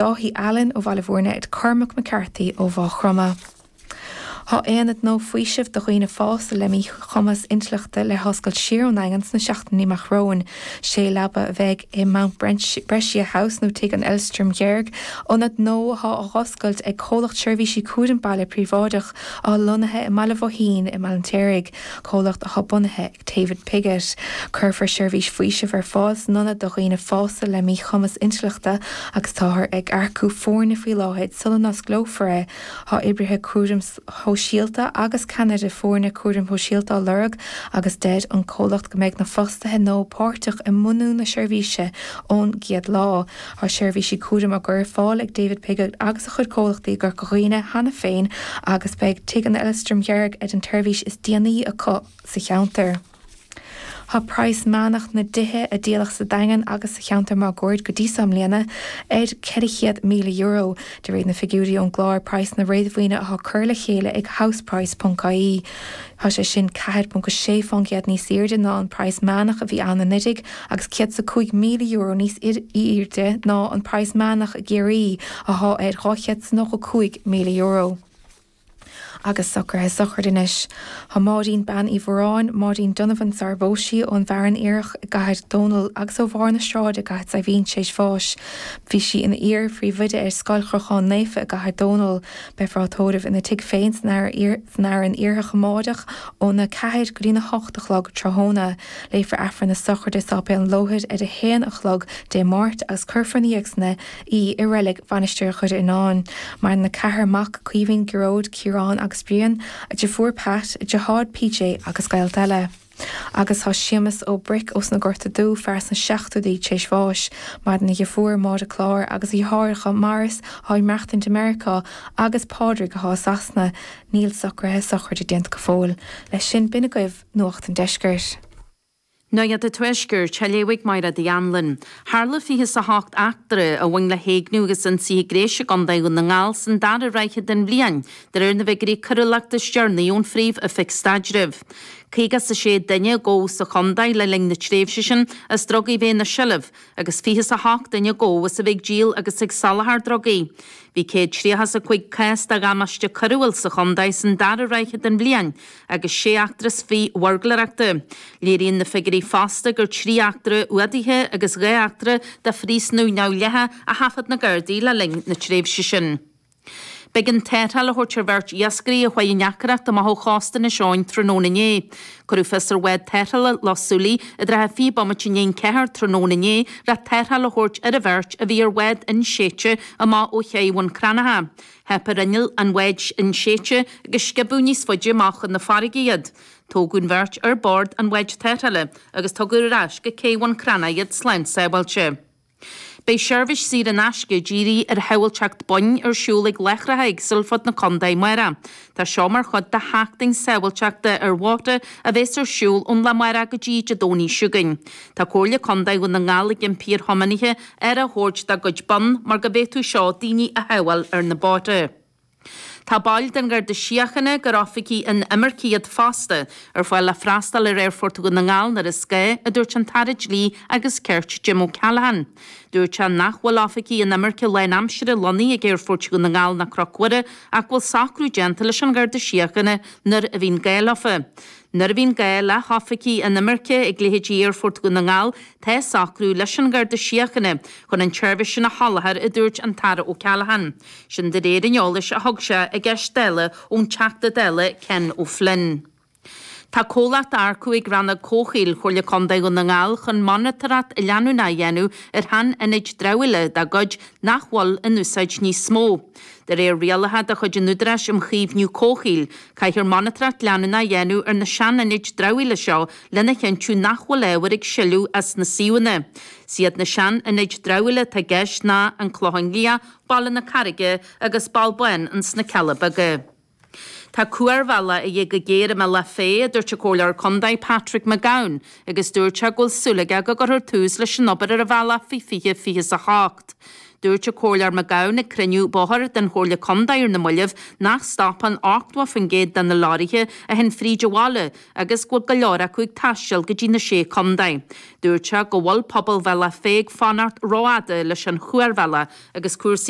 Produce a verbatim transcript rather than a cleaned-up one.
Dáithí Allen ó Bhaile Bhúirne ed Cormac McCarthy ó Mhaigh Chromtha. Tá aonad nua faoisimh do dhaoine fásta le míchumas intleachta le hoscailt siar ón nDaingean sna seachtainí amach romhainn. Sé leaba a bheidh i Mount Brescia House nó Tigh an Aelstrom Dheirg, ionad nua atá á oscailt ag comhlacht seirbhísí cúraim baile príobháideach atá lonnaithe i mBaile Bhoithín i mBaile an tSéaraigh, comhlacht atá bunaithe ag David Piggott. Cuirfear seirbhís faoisimh ar fáil san ionad do dhaoine fásta le míchumas intleachta agus táthar ag earcú foirne faoi láthair sula n-osclófar é. Tá oibrithe cúraim shóisialta agus ceannaire foirne cúraim shóisialta á lorg agus deir an comhlacht go mbeidh na fostaithe nua páirteach i mbunú na seirbhíse ón gcéad lá. Tá seirbhísí cúraim á gcur ar fáil ag David Piggott agus a chuid comhlachtaí i gCorca Dhuibhne cheana féin agus beidh Tigh an Aelstrom Dheirg ar an tseirbhís is déanaí acu sa cheantar. Tá praghas meánach na dtithe a díoladh sa Daingean agus sa cheantar máguaird go dtí seo i mbliana ar ceithre chéad míle euro, de réir na figiúirí ón gclár praghsanna réadmhaoine atá curtha le chéile ag houseprice.ie. Tá sé sin ceathair ponc sé faoin gcéad níos airde ná an praghas meánach a bhí ann anuraidh agus céad is a cúig míle euro níos airde ná an praghas meánach i gCiarraí atá ar dhá chéad is nócha cúig míle euro. Agus socruithe sochraide anois. Tá Máirín Bean Uí Mhóráin, Máirín Donovan sar a phós sí ón bhFearann Iarthach i gCathair Dónall agus ó bharr na sráide i gCathair Saidhbhín tar éis bháis. Bhí sí ina iar-phríomhoide ar Scoil Chrocháin Naofa i gCathair Dónall. Beifear á tórramh ina tigh féin san Fhearann Iarthach amárach óna ceathair go dtína hocht a chlog tráthnóna. Léifear Aifreann na sochraide i Sáipéal an Lóthair ar a haon a chlog Dé Máirt agus cuirfear ina dhiaidh san í i reilig Mhainistir Dhoire Fhíonáin. Maireann a ceathrar mac, Caoimhín, Gearóid, Ciarán agus Brian, a deirfiúr Pat, a deartháir PJ agus gaolta eile. Agus tá Séamus Ó Bric ós na Gorta Dubh, fear sna seachtóidí tar éis bháis. Maireann a dheirfiúr Máire Clár agus a dheartháireacha Maurice atá ag maireachtaint i Meiriceá agus Pádraig atá i Sasana. Níl socruithe sochraide déanta go fóill. Leis sin b'in agaibh Nuacht an Deiscirt. Nuacht an Tuaiscirt, á léamh ag Máire Uí Anluain. Tharla fiche is a hocht eachtra a bhain le héigniú agus ionsaithe gnéis i gContae Dhún na nGall san dara ráithe den bhliain, de réir na bhfigiúirí coiriúlachta is deireanaí ón Phríomh-Oifig Staidrimh. Caoga is a sé duine a gabhadh sa chontae le linn na tréimhse sin as drugaí bheith ina seilbh, agus fiche is a hocht duine a gabhadh as a bheith ag díol agus ag soláthar drugaí. Bhí céad tríocha is a cúig cás de dhamáiste coiriúil sa chontae san dara ráithe den bhliain agus sé eachtra is fiche bhuirgléireachta. Léiríonn na figiúirí fosta gur trí eachtra fhuadaithe agus dhá eachtra de phríosúnú neamhdhleathach a thaifead na Gardaí le linn na tréimhse sin. B'éigean tarrtháil a thabhairt ar bheirt iascairí a chuaigh in aicearracht amach ó chósta Inis Eoghain tráthnóna inné. Cuireadh fios ar bhád tarrthála Loch Súilí i dtrátha fiche bomaite i ndiaidh an ceathair tráthnóna inné le tarrtháil a thabhairt ar an bheirt a bhí ar bhád inséidte amach ó ché Bhun Cranncha. Theip ar inneall an bháid inséidte agus sciobadh níos faide amach chun na farraige iad. Tógadh an bheirt ar bord an bháid tarrthála agus tugadh ar ais go cé Bhun Cranncha iad slán sábháilte. Beidh seirbhís saor in aisce dírithe ar shábháilteacht boinn ar siúl ag láithreacha éagsúla fud na contae amárach. Tá seo mar chuid de sheachtain sábháilteachta ar bhóithre a bheas ar siúl ón lá amárach go dtí Dé Domhnaigh seo chugainn. Tá Comhairle Contae Dhún na nGall ag impí ar thiománaithe aire a thabhairt dá gcuid bonn mar go bhféadfadh seo daoine a shábháil ar na bóithre. Tá baill den Gharda Síochána, gur oifigigh inimirce iad fosta, ar fáil le freastal ar Aerfort Dhún na nGall nuair is gá, a dúirt an tAire Dlí agus Cirt Jim O'Callaghan. Dúirt sé nach bhfuil oifigigh inimirce lánaimseartha lonnaithe ag Aerfort Dhún na nGall ná Cnoc Mhuire ach go bhfuil socrú déanta leis an Gharda Síochána nuair a bhíonn gá leofa. Nuair a bhíonn gá le hoifigigh inimirce ag leithéidí Aerfort Dhún na nGall, tá socrú leis an Gharda Síochána chun an tseirbhís sin a sholáthar, a dúirt an tAire O'Callaghan. Sin de réir an eolais a thug sé i gceist Dála ón Teachta Dála Ken O'Flynn. Tá comhlacht á earcú ag Rannóg Comhshaoil Chomhairle Contae Dhún na nGall chun monatóireacht leanúnach a dhéanamh ar shean-ionaid dramhaíola dá gcuid nach bhfuil in úsáid níos mó. De réir rialacha de chuid an Údaráis um Chaomhnú Comhshaoil, caithfear monatóireacht leanúnach a dhéanamh ar na sean-ionaid dramhaíola seo lena chinntiú nach bhfuil ábhar ag sileadh as na suíomhanna. Is iad na sean-ionaid dramhaíola atá i gceist ná an Clochán Liath, Baile na Carraige agus Ball Bán ins na Cealla Beaga. Tá cuarbhealach a dhíth go géar i mBealach Féich, a dúirt an Comhairleoir Contae Patrick McGowan, agus dúirt sé go bhfuil súil aige go gcuirfear tús leis an obair ar an bhealach faoi fiche fiche is a hocht. Dúirt an Comhairleoir McGowan ag cruinniú bóthair den Chomhairle Contae ar na mallaibh nach stopann ochtó faoin gcéad de na leoraithe a théann fríd an bhaile agus go bhfuil go leor acu ag taisteal go dtí na sé chontae. Dúirt sé go bhfuil pobal Bhealach Féich ag fanacht rófhada leis an chuarbhealach agus cúrsaí